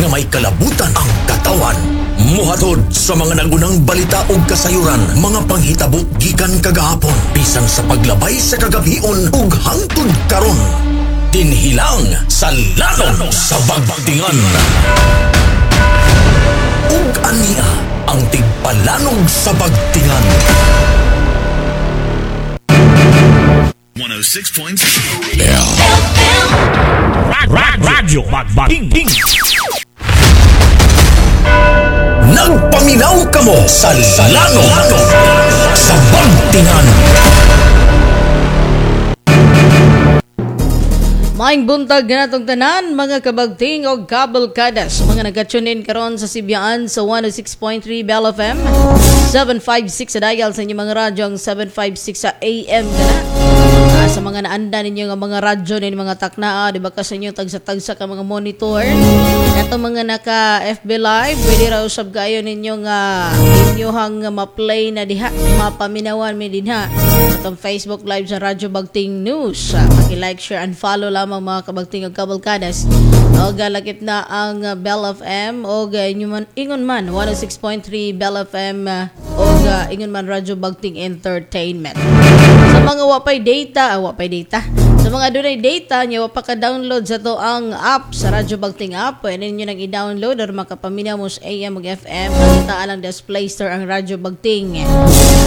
Nga may kalabutan ang katawan. Muhatod sa mga nagunang balita ug kasayuran, mga panghitabo gikan kagahapon, bisan sa paglabay sa kagabion ug hangtod karon. Dinhilang sa Lanog sa Bagtingan. Ug ania ang tigpalanog sa Bagtingan. 106.0 Radyo Bagbating. Nagpaminaw kamo sa Lanog sa Bagtingan. Maayong buntag ganatong tanan, mga kabagting og kabalkadas, mga nag-tune in karon sa Sibyaan sa 106.3 Bell FM, 756 sa dial sa inyong mga radyo, ang 756 sa AM kana. Sa mga naanda ninyo nga mga radyo ninyo mga taknaa, di ba, ka sa inyo tagsa-tagsa ka mga monitor. Kato mga naka FB Live, pwede ra usab kayo ninyo nga inyohang ma-play na diha, mapaminawan mi dinha sa atong Facebook Live sa Radyo Bagting News. Paki-like, share and follow lamang, mga kabagting ug kabalkadas. Og lakip na ang Bell FM og ingon man 106.3 Bell FM og ingon man Radyo Bagting Entertainment. Sa mga wapay data, wapay data. Sa mga dunay data nya wa pa ka-download sa to ang app sa Radyo Bagting app, pwede ninyo nang i-download or makapaminaw mo sa AM ug FM. Makita lang sa Play Store ang Radyo Bagting.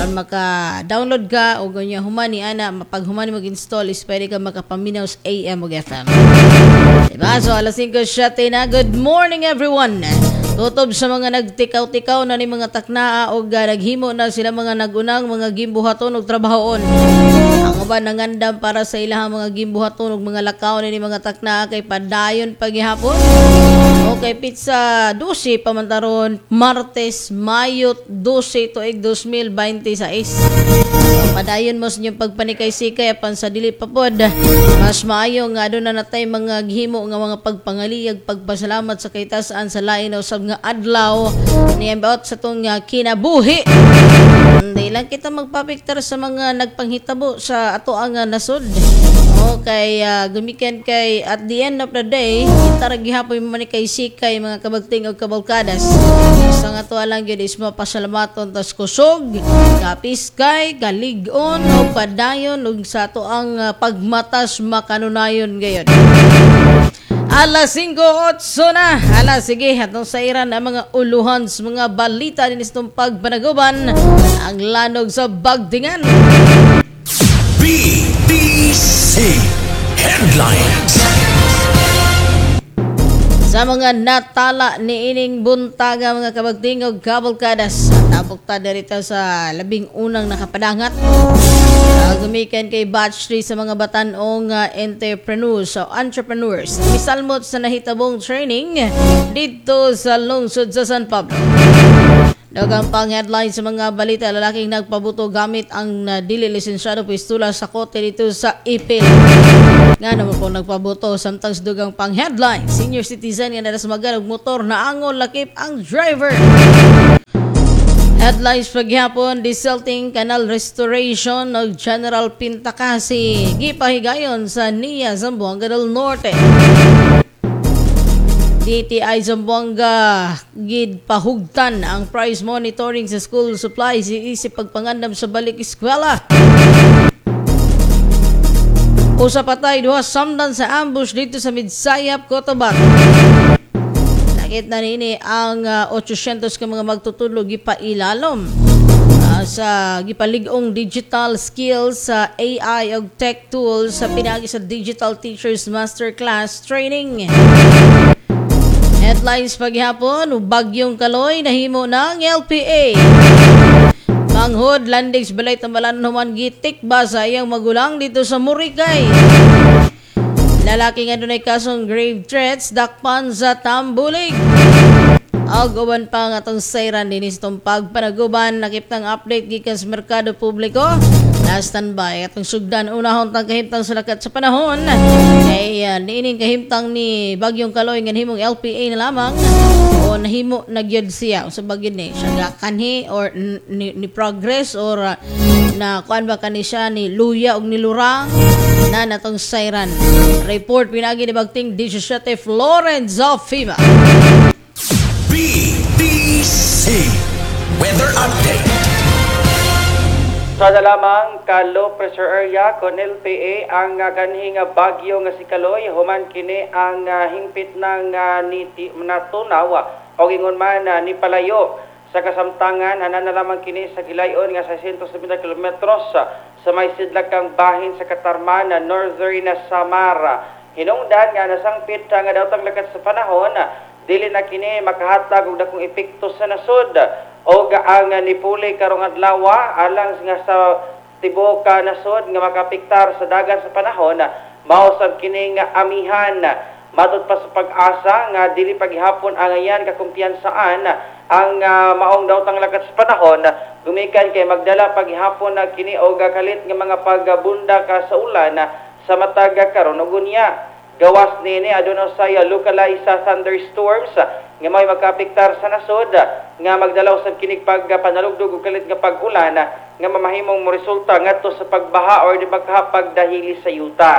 Aron maka-download ka o ganyan humani ana, mapag humani mag-install is pwede ka makapaminaw sa AM ug FM. Diba? So alas 5:07 na. Good morning, everyone. Tutob sa mga nagtikaw-tikaw na ni mga taknaa o naghimo na sila mga nagunang mga gimbuhaton og trabahoon. Ang uban nangandam para sa ilahang mga gimbuhaton og mga lakaw ni mga taknaa kay padayon paghihapon. Okay, petsa 12 pamantaron, Martes, Mayo 12 tuig 2026. Padayon mo sa inyong pagpanikay-sikay apan sa dili pa pod. Mas maayo nga aduna na natay mga gihimo nga mga pagpangaliyag, pagpasalamat sa kaitasaan sa lain usab nga adlaw ni about sa tong kinabuhi. Hindi lang kita magpapiktar sa mga nagpanghitabo sa ato ang nasod. Okay, gumikan kay at the end of the day, kita ra gihapon man kay sikay, mga kabagting og kabalkadas. Sa nga to lang gyud is mapasalamaton tas kusog, kapiskay, kalig-on o padayon ug sa ato ang pagmatas makanunayon gayon. Alas 5:08 na. Ala, sige, atong sairan ang mga uluhan sa mga balita din itong pagpanaguban, ang Lanog sa Bagtingan. BBC Headlines. Sa mga natala ni ining buntaga, mga kabagting og kabalkadas, tabok ta dirito sa labing unang nakapadangat. Gumikan kay batch 3 sa mga batanong entrepreneurs o entrepreneurs. Misalmot sa nahitabong training dito sa lungsod sa San Pablo. Daghang pang headline sa mga balita, lalaking nagpabuto gamit ang dili lisensyado pistula sa kote dito sa Ipil. Nga naman po nagpabuto, samtang sa dugang pang headline, senior citizen nga nadasmagan og motor na angol lakip ang driver. Headlines paghapon, desilting canal restoration og General Pintakasi gipahigayon sa NIA, Zamboanga del Norte. DTI Zamboanga gid pahugtan ang price monitoring sa school supplies isip pagpangandam sa balik eskwela. Usa patay, duha samdan sa ambush dito sa Midsayap, Cotabato. Nakit na nini ang 800 ka mga magtutudlo gipailalom sa gipalig-ong digital skills sa AI ug tech tools sa pinagi sa Digital Teachers Masterclass Training. Headlines paghapon, bagyong Kaloy nahimo ng LPA. Manghod, landing sa balay tambalan human gitik ba sa iyang magulang dito sa Muricay. Lalaki nga dunay kasong grave threats dakpan sa Tambulig. Og uban pa nga atong sayran dinhi sa itong pagpanaguban, nakiptang update gikan sa merkado publiko. Na standby atong sugdan unahon tang kahimtang sa lakat sa panahon kay niining kahimtang ni Bagyong Kaloy nga nahimong LPA na lamang o nahimo na gyud siya sa bagyo ni siya kanhi or ni progress or na kuan ba kani siya, ni luya og nilurang na natong sayran. Report pinagi ni Bagting 17 Florence of FIMA. BDC Weather Update. Sa na lamang ka low pressure area kon LPA ang kanhi nga bagyo nga si Kaloy, human kini ang hingpit ng niti natunaw o ingon man ni palayo. Sa kasamtangan, hanan na lamang kini sa gilayon nga 670 kilometros sa may sidlakang bahin sa Katarman, Northern Samar. Hinungdan nga nasangpit nga daotang lakat sa panahon, dili na kini makahatag og dakong epekto sa nasod og ang nipuli karong adlaw alang nga sa tibuok ka nasod nga makapiktar sa dagan sa panahon mao sab kini nga amihan. Matud pa sa Pag-asa nga dili paghihapon angayan kakumpiyansaan ang maong daotang lakat sa panahon gumikan kay magdala paghihapon na kini og kalit nga mga pagbunda ka sa ulan sa matag karon ug unya. Gawas nini, aduna usay localized sa thunderstorms nga may makapiktar sa nasod nga magdala usab kinig pagpanalugdog ug kalit nga pag-ulan nga mamahimong moresulta ngadto sa pagbaha or di ba pagdahili sa yuta.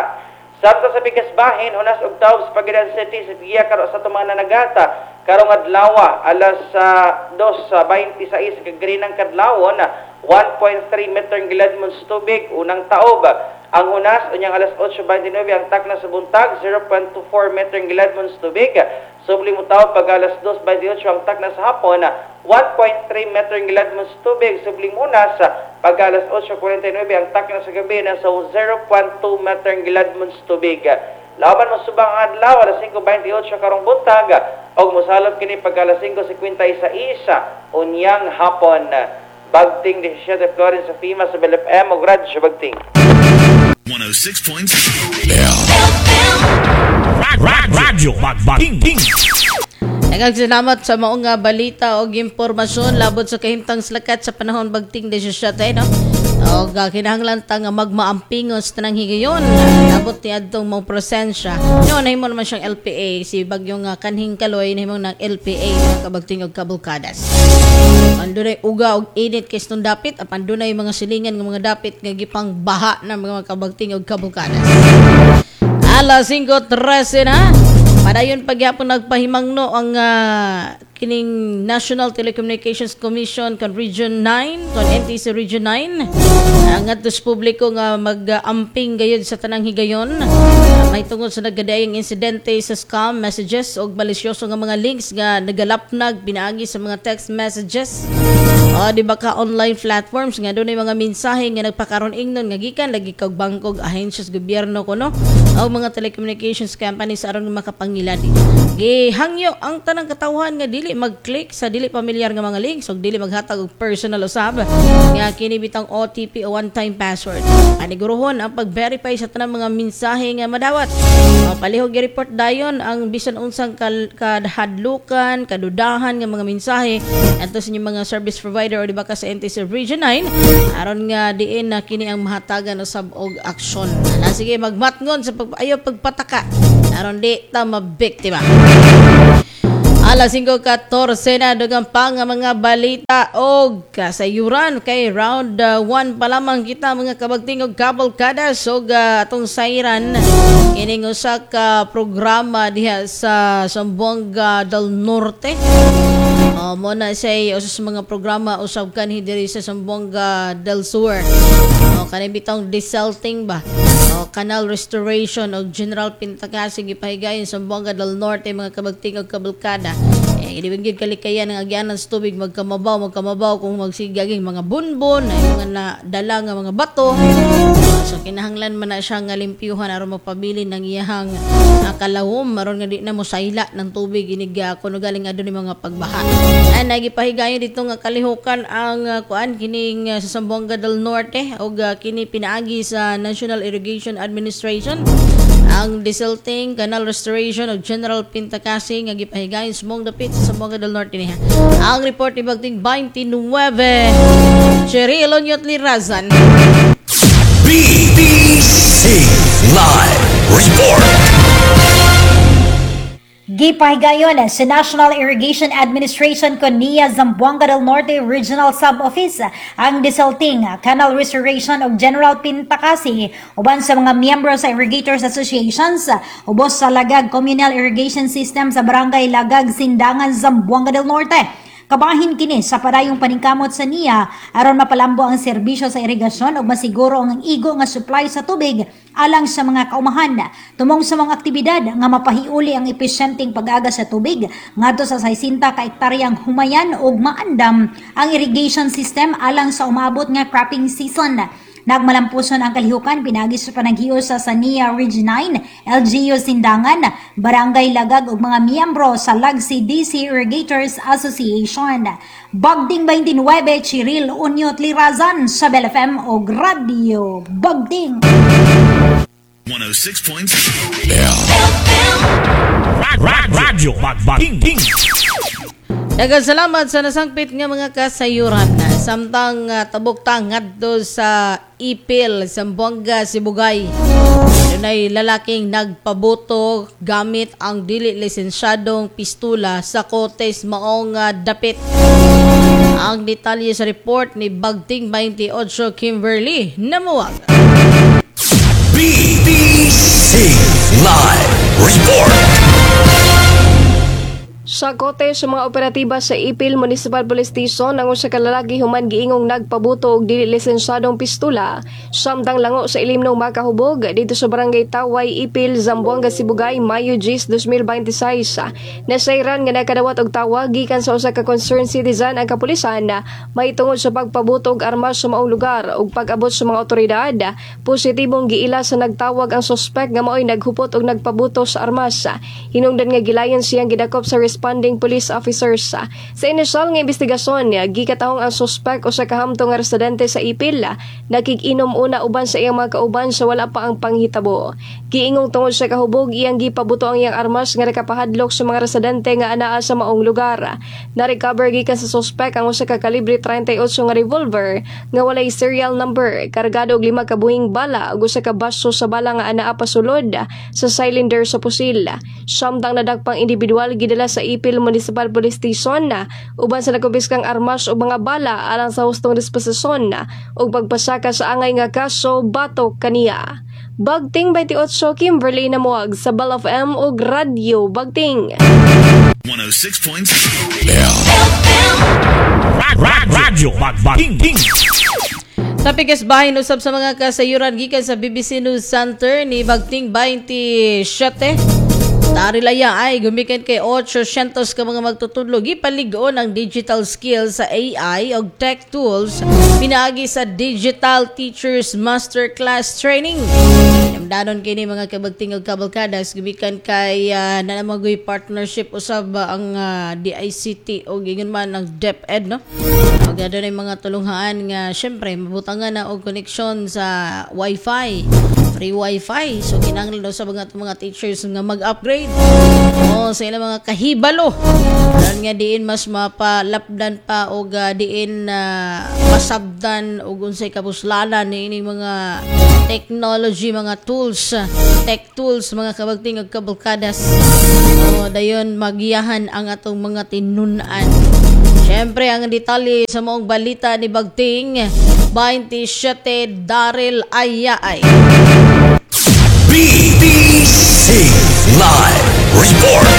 Samtang sa pikas bahin, hunas og taob sa Pagadian City sa giya karo sa atong mga nanagata karong adlaw alas 2:26 kaganinang kadlawon, 1.3 meter ang giladmon sa tubig unang taob. Ang hunas unyang alas 8:29 ang takna sa buntag, 0.24 meter ang giladmon sa tubig. Subli mo taob pag alas 2:28 ang takna sa hapon, 1.3 meter ang giladmon sa tubig. Subli hunas pag alas 8:49 ang takna sa gabi, nasa 0.2 meter ang giladmon sa tubig. Laban mo subang adlaw alas 5:28 karong buntag og mosalop kini pag alas 5:56 unyang hapon. Bagting 17 Florence sa FIMA sa Bell FM ug Radyo Bagting. 106.7. Radyo Bagting. Daghang salamat sa maong nga balita og impormasyon labot sa kahimtang slakat sa panahon, Bagting 17, no? Og kinahanglan ta nga magmaampingon sa tanang higayon labot ni adtong mong presensya. No, nahimo naman siyang LPA si bagyong kanhing Kaloy, nahimo ng LPA, mga kabagting og kabulkadas. Andunay uga og init kay itong dapit apan dunay mga silingan nga mga dapit nga gipang baha ng mga kabagting og kabulkadas. Alas 5:13 na. Padayon pagyapon nagpahimangno ang kining National Telecommunications Commission kon Region 9, kon NTC Region 9. Ang ngadto sa publiko nga mag-amping gayud sa tanang higayon. May tungod sa nagkadaayang insidente sa scam messages og malisyoso nga mga links nga nagalapnag pinaagi sa mga text messages. O di ba ka online platforms nga dunay mga mensahe nga nagpakaron ingnon nga gikan lagi kag bangkog, ahensya sa gobyerno kuno o mga telecommunications companies aron nga makapangiladi. Gihangyo ang tanang katawhan nga dili mag-click sa dili pamilyar nga mga links ug dili maghatag og personal usab nga kini bitang OTP o one-time password. Paniguruhon ang pag-verify sa tanang mga mensahe nga madawat. O, palihog i-report dayon ang bisan unsang kadhadlukan, kadudahan nga mga mensahe adto sa inyong mga service provider o di ba ka sa NTC Region 9 aron nga diin na kini ang mahatagan usab og aksyon. Ala, sige, magmatngon sa pag ayo pagpataka aron di ta mabiktima. Alas 5:14 na, dugang pa nga mga balita og kasayuran kay round 1 pa lamang kita, mga kabagting og kabalkadas, og atong sayran kining usa ka programa diha sa Zamboanga del Norte. Mo na siya usa sa mga programa usab kanhi diri sa Zamboanga del Sur. Kani bitong desilting ba? Canal restoration og General Pintakasi gipahigayon sa Zamboanga del Norte, mga kabagting og kabalkada. Eh, di gyud kalikayan ang agyanan sa tubig, magkamabaw, magkamabaw kung magsigaging mga bunbon, ay mga nadala nga mga bato. So kinahanglan man na siya nga limpyuhan aron mapabilin ang iyahang kalawom aron nga di na mosayla ng tubig inig kuno galing adto ni mga pagbaha. Ay nagipahigayon dito nga kalihukan ang kuan kining sa Zamboanga del Norte og kini pinaagi sa National Irrigation Administration ang desilting, canal restoration og General Pintakasi nga gipahigayon sa mong dapit sa Zamboanga del Norte niya. Ang report ni Bagting 29 Cheryl Onyot Lirazan. BBC Live Report. Gipahigayon sa National Irrigation Administration kon NIA Zamboanga del Norte Regional Sub-Office ang desilting, canal restoration ug general pintakasi uban sa mga miyembro sa Irrigators Associations ubos sa Lagag Communal Irrigation System sa Barangay Lagag, Sindangan, Zamboanga del Norte. Kabahin kini sa padayong paningkamot sa NIA aron mapalambo ang serbisyo sa irigasyon ug masiguro ang igo nga supply sa tubig alang sa mga kaumahan. Tumong sa mga aktibidad nga mapahiuli ang epesyenteng pag-agas sa tubig ngadto sa 60 ka ektaryang humayan ug maandam ang irrigation system alang sa umaabot nga cropping season. Nagmalampuson ang kalihukan pinaagi sa panaghios sa NIA Region 9, LGU Sindangan, Barangay Lagag ug mga miyembro sa Lagsi DC Irrigators Association. Bagding 29, Chiril Unyot Lirazan sa Bell FM ug Radio Bagding. 106.7. Radyo Bagbaking. Daghang salamat sa nasangpit nga mga kasayuran. Samtang tabok ta ngadto sa Ipil, Zamboanga, Sibugay. Dunay lalaking nagpabuto gamit ang dili lisensyadong pistula sa Cotes maong dapit. Ang detalye sa report ni Bagting 28 Kimberly Namuwag. BBC Live Report. Sa kote sa mga operatiba sa Ipil Municipal Police Station ang usa ka lalaki human giingong nagpabuto og dili lisensyadong pistula samtang lango sa ilimnong makahubog dito sa Barangay Taway, Ipil, Zamboanga, Sibugay, Mayo 10, 2026. Nasayran nga nakadawat og tawag gikan sa usa ka concerned citizen ang kapulisan mahitungod sa pagpabuto og armas sa maong lugar, ug pag-abot sa mga otoridad, positibong giila sa nagtawag ang suspect nga maoy naghupot og nagpabuto sa armas. Hinungdan nga gilayon siyang gidakop sa responding police officers. Sa inisyal nga investigasyon, gikatahong ang suspect usa ka hamtong nga residente sa Ipil, nakig-inom una uban sa iyang mga kauban sa wala pa ang panghitabo. Giingong tungod sa kahubog iyang gipabuto ang iyang armas nga nakapahadlok sa mga residente nga anaa sa maong lugar. Na-recover gikan sa suspect ang usa ka kalibre 38 nga revolver nga walay serial number, kargado og lima ka buhing bala ug usa ka baso sa bala nga anaa pasulod sa cylinder sa pusil. Samtang nadakpang individual gidala sa Ipil Municipal Police Station na uban sa nakumpiskang armas ug mga bala alang sa hustong disposisyon ug pagpasaka sa angay nga kaso batok kaniya. Bagting 28, Kimberly Namuag sa Bell FM ug Radyo Bagting. 106.7. Radyo Bagbaking. Sa pikas bahin usab sa mga kasayuran gikan sa BBC News Center ni Bagting 27. Tarilaya ay gumikan kay 800 ka mga magtutudlo gipalig-on ang digital skills sa AI og tech tools pinaagi sa Digital Teachers Masterclass Training. Namdanon kini, mga kabagting ug kabalkadas, gumikan kay nanamagoy partnership usab ang DICT og ingon man ang DepEd, no? Og adunay mga tulunghaan nga syempre mabutangan na og connection sa Wi-Fi, free Wi-Fi. So kinahanglan daw sa mga teachers nga mag-upgrade o sa ilang mga kahibalo aron nga diin mas mapalapdan pa og diin masabdan og unsay kabuslanan niining mga technology, mga tools, tech tools, mga kabagting ug kabalkadas. O dayon magiyahan ang atong mga tinun-an. Siyempre, ang detalye sa maong balita ni Bagting 27 Daryl Ayaay. BBC Live Report.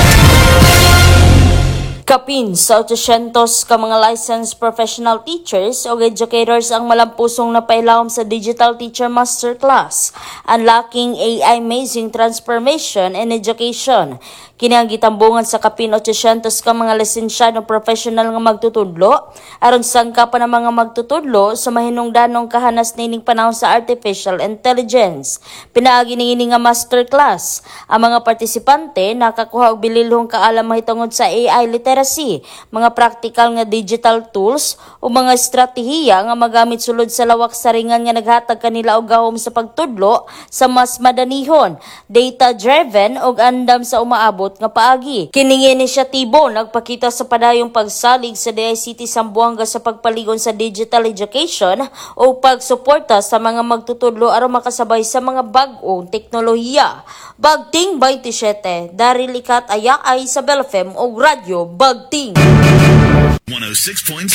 Kapin sa 800 ka mga licensed professional teachers o educators ang malampusong napailawom sa Digital Teacher Masterclass, Unlocking AI Amazing Transformation in Education. Kini ang gitambungan sa kapin 800 ka mga lisensyadong professional nga magtutudlo aron sangkapan ng mga magtutudlo sa mahinungdanong kahanas nining panahon sa artificial intelligence. Pinaagi niini nga masterclass, ang mga partisipante nakakuha og bililhong kaalam mahitungod sa AI literacy, mga practical nga digital tools o mga estratehiya nga magamit sulod sa lawak saringan nga naghatag kanila og gahom sa pagtudlo sa mas madanihon, data-driven ug andam sa umaabot labot nga paagi. Kining inisyatibo nagpakita sa padayong pagsalig sa DICT Zamboanga sa pagpaligon sa digital education o pagsuporta sa mga magtutudlo aron makasabay sa mga bag-ong teknolohiya. Bagting 27, Daryl Ikat aya ay sa Bell FM o Radyo Bagting. 106.7.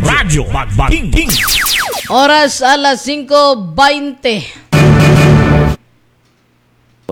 Radyo Bagbaking. Oras alas 5:20.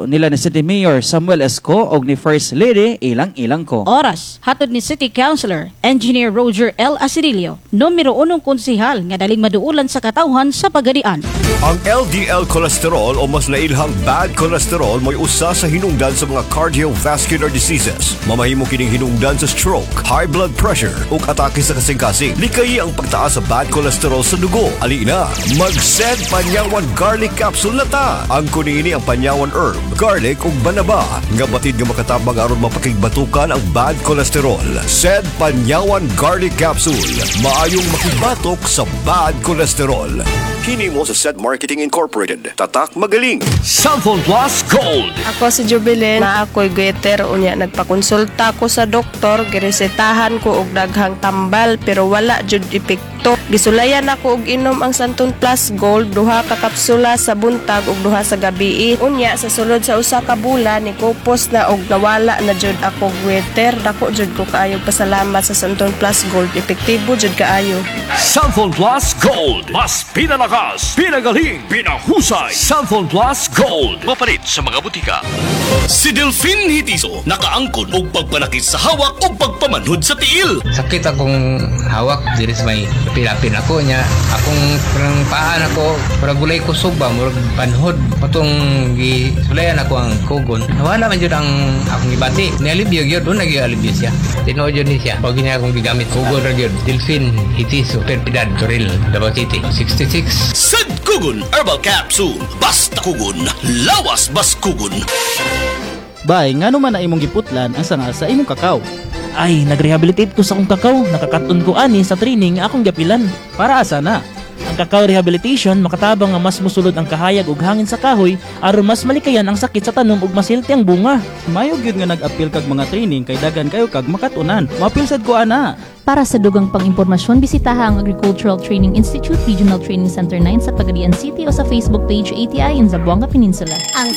Nila ni City Mayor Samuel Esco og ni First Lady Ilang Ilang ko. Oras, hatod ni City Councilor, Engineer Roger L. Asidillo, numero unong konsehal nga daling maduulan sa katawhan sa Pagadian. Ang LDL cholesterol o mas nailhang bad cholesterol mo'y usa sa hinungdan sa mga cardiovascular diseases. Mamahimo kining hinungdan sa stroke, high blood pressure ug atake sa kasing-kasing. Likayi ang pagtaas sa bad cholesterol sa dugo. Ali na, mag-send Panyawan Garlic Capsule na ta. Ang kunini ang Panyawan herb, garlic ug banaba nga batid nga makatabang aron mapakigbatukan ang bad cholesterol. Sed Panyawan Garlic Capsule. Maayong makigbatok sa bad cholesterol. Kini mo sa Sed Marketing Incorporated. Tatak magaling. Sample Plus Gold. Ako si Jubilin, na ako'y goiter, unya nagpakonsulta ko sa doktor, giresetahan ko og daghang tambal pero wala jud epekto. Gisulayan ako og inom ang Santon Plus Gold, duha ka kapsula sa buntag ug duha sa gabi. Unya sa sulod sa usa ka bulan ni kupos na og nawala na jud ako goiter. Dako jud ko kaayo pasalamat sa Santon Plus Gold, epektibo jud kaayo. Sample Plus Gold. Mas pinalakas, pinagaling, pinahusay. Sample Plus Gold. Mapalit sa mga butika. Si Delphine Hitiso, nakaangkon og pagpanakit sa hawak o pagpamanhod sa tiil. Sakit akong hawak diri sa may pilapin ako niya. Akong parang paan ako, murag gulay kusog ba, murag panhod. Patong gisulayan ako ang kugon. Nawala man jud ang akong gibati. Nialibyo gyud, doon nagyalibyo siya. Tinuod yun ni siya. Pag niya akong gigamit, kugon ra gyud. Delphine Hitiso, Perpidad, Toril, Davao City. 66. Sad Kugon Herbal Capsule. Basta kugon, lawas bas kugon. Bay, ngano man na imong giputlan ang sanga sa imong kakao? Ay, nagrehabilitate ko sa akong kakao. Nakakaton ko ani sa training nga akong gapilan. Para asa na? Ang cacao rehabilitation makatabang nga mas musulod ang kahayag ug hangin sa kahoy aron mas malikayan ang sakit sa tanom ug mas healthy ang bunga. Mayo gyud nga nag-apil kag mga training kay dagan kayo kag makatunan. Maapil sad ko ana. Para sa dugang pang-impormasyon, bisitaha ang Agricultural Training Institute Regional Training Center 9 sa Pagadian City o sa Facebook page ATI in Zamboanga Peninsula. Ang